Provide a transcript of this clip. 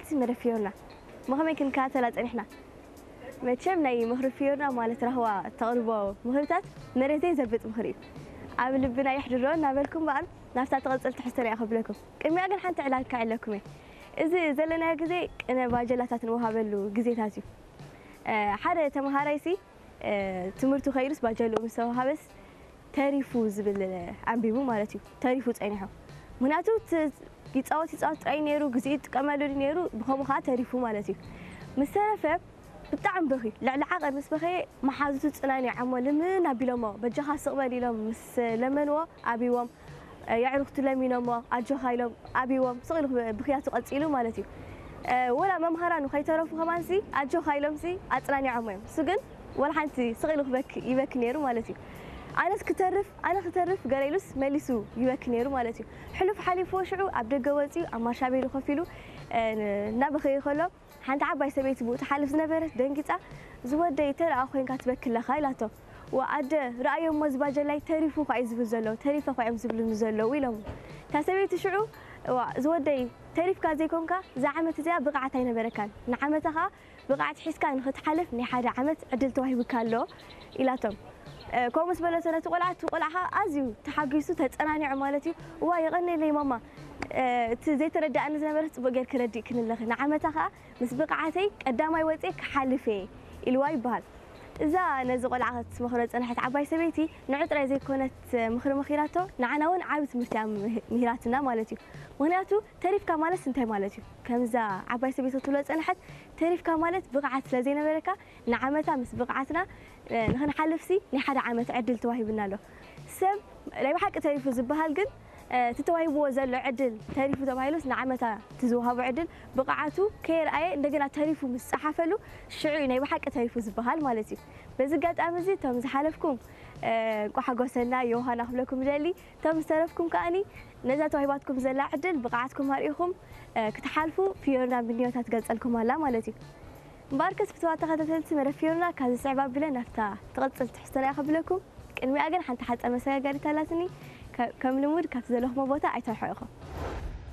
ተኸታተልቲ መደብ ፊዮርና፣ መኸመይ ክንከታተላ ጸኒሕና? መቸም ናይ ምኽሪ ፊዮርና ማለት ራህዋ እተቕርቦ ምኽርታት መሬት ዘይዘብጥ ምኽሪ እዩ። ኣብ ልብና የሕድሮ እናበልኩም በኣል ናብታ ትቕጽል ትሕዝቶና እየ ከብለኩም። ቅድሚያ ግን ሓንቲ ዕላል ከዕለኩም እየ። እዚ ዘለናዮ ግዜ ቅነ ባጀላታት ንወሃበሉ ግዜታት እዩ። እ፣ ሓደ ተመሃራይሲ እ፣ ትምህርቱ ከይዱስ ባጀልኡ ምስ ተዋሃበስ ተሪፉ ዝብል ኣንቢቡ ማለት እዩ። ተሪፉ ጸኒሑ። ምኽንያቱ ት-፣ ይጻወት ይጻወት ጥራይ ነይሩ፣ ግዜ ይጥቀመሉ ነይሩ፣ ብኸምኡ ኸዓ ተሪፉ ማለት እዩ። ምስ ተረፈ ብጣዕሚ በኺ፣ ልዕሊ ዓቐን ምስ በኸየ መሓዙቱ ጽናኒዖሞ ልምን ኣቢሎሞ፣ በጃኻ ስቕ በል ኢሎም ምስ ለመንዎ ኣብይዎም፣ እ፣ የዕሩኽቱ ለሚኖሞ ኣጆኻ ኢሎም ኣብይዎም ስቕ ኢሉ ብኽያቱ ቀጺሉ ማለት እዩ። እ፣ ወላ መምሃራኑ ከይተረፉ ከማንሲ ኣጆኻ ኢሎምሲ ኣጽናኒዖሞ እዮም። እሱ ግን ወላ ሓንቲ ስቕ ኢሉ ክበክ-፣ ይበኪ ነይሩ ማለት እዩ። ኣነስ ክተርፍ፣ ኣነ ክተርፍ ገለ ኢሉስ መሊሱ ይበኪ ነይሩ ማለት እዩ። ሕሉፍ ሓሊፍዎ ሽዑ ኣብ ደገ ወጺኡ ኣብ ማርሻ ቤሉ ኮፍ ኢሉ፣ እ፣ ን-፣ እናበኸየ ከሎ ሓንቲ ዓባይ ሰበይቲ ብኡ ትሓልፍ ዝነበረት ደንጊጻ፣ "ዝወደይ ተረኣ ኮይንካ ትበኪ ኣለኻ?" ኢላቶ። "ዋ ኣደ፣ ረኣዮ እሞ እዚ ባጀላይ ተሪፉ እኳ እዩ ዝብል ዘሎ፣ ተሪፈ እኳ እዮም ዝብሉኒ ዘለዉ" ኢሎሞ። እታ ሰበይቲ ሽዑ፣ "ዋ ዝወደይ፣ ተሪፍካ ዘይኮንካ እዛ ዓመት እዚኣ ብቕዓት ኣይነበረካን፣ ንዓመታ ኸኣ ብቕዓት ሒዝካ ንኽትሓልፍ ናይ ሓደ ዓመት ዕድል ተዋሂቡካ ኣሎ" ኢላቶም። እ፣ ከምኡ ምስ በለቶ ነቲ ቆልዓ፣ እቲ ቆልዓ ኸኣ ኣዝዩ ተሓጒሱ ተጸናኒዑ ማለት እዩ። "እዋ የቐንየለይ ማማ፣ እ፣ እቲ ዘይተረድኣኒ ዝነበረ ጽቡቕ ጌርኪ ረዲእክኒ ኣለኺ፣ ንዓመታ ኸኣ ምስ ብቕዓተይ ቀዳማይ ወጽየ ክሓልፍ እየ" ኢልዋ ይበሃል። እዛ ነዚ ቆልዓ ክትመኽሮ ዝጸንሐት ዓባይ ሰበይቲ ንዑ ጥራይ ዘይኮነት ምኽሪ መኺራቶ፣ ንዓና እውን ዓቢ ትምህርቲ እያ ምህ-፣ ምሂራትና ማለት እዩ። ምኽንያቱ ተሪፍካ ማለትስ እንታይ ማለት እዩ? ከምዛ ዓባይ ሰበይቲ ክትብሎ ዝጸንሐት፣ ተሪፍካ ማለት ብቕዓት ስለ ዘይነበረካ ንዓመታ ምስ ብቕዓትና፣ እ፣ ንኽንሓልፍሲ ናይ ሓደ ዓመት ዕድል ተዋሂቡና ኣሎ። ሰብ ናይ ብሓቂ ተሪፉ ዝበሃል ግን፣ እ፣ እቲ ተዋሂብዎ ዘሎ ዕድል ተሪፉ ተባሂሉስ ንዓመታ እቲ ዝወሃቦ ዕድል ብቕዓቱ ከየርኣየ እንደገና ተሪፉ ምስ ጸሓፈሉ ሽዑ እዩ ናይ ብሓቂ ተሪፉ ዝበሃል ማለት እዩ። በዚ ኣጋጣሚ እዚ እቶም ዝሓለፍኩም፣ እ፣ እንቋዕ ሓጎሰና ዮሃና ክብለኩም ይደሊ። እቶም ዝተረፍኩም ከኣኒ ነዛ ተዋሂባትኩም ዘላ ዕድል ብቕዓትኩም ኣርኢኹም፣ እ፣ ክትሓልፉ ፊዮርና ምንዮታ ትገልጸልኩም ኣላ ማለት እዩ። እምበኣርከስ ፍትዋት ተኸታተልቲ መደብ ፊዮርና ካብዚ ስዕብ ኣቢለ ናብታ ትቕጽል ትሕዝቶና እየ ከብለኩም። ቅድሚኣ ግን ሓንቲ ሓጻር መሰጋገሪት ኣላትኒ። ከ-፣ ከም ልሙድ ካብቲ ዘለኹሞ ቦታ ኣይተርሕቑ ኢኹም።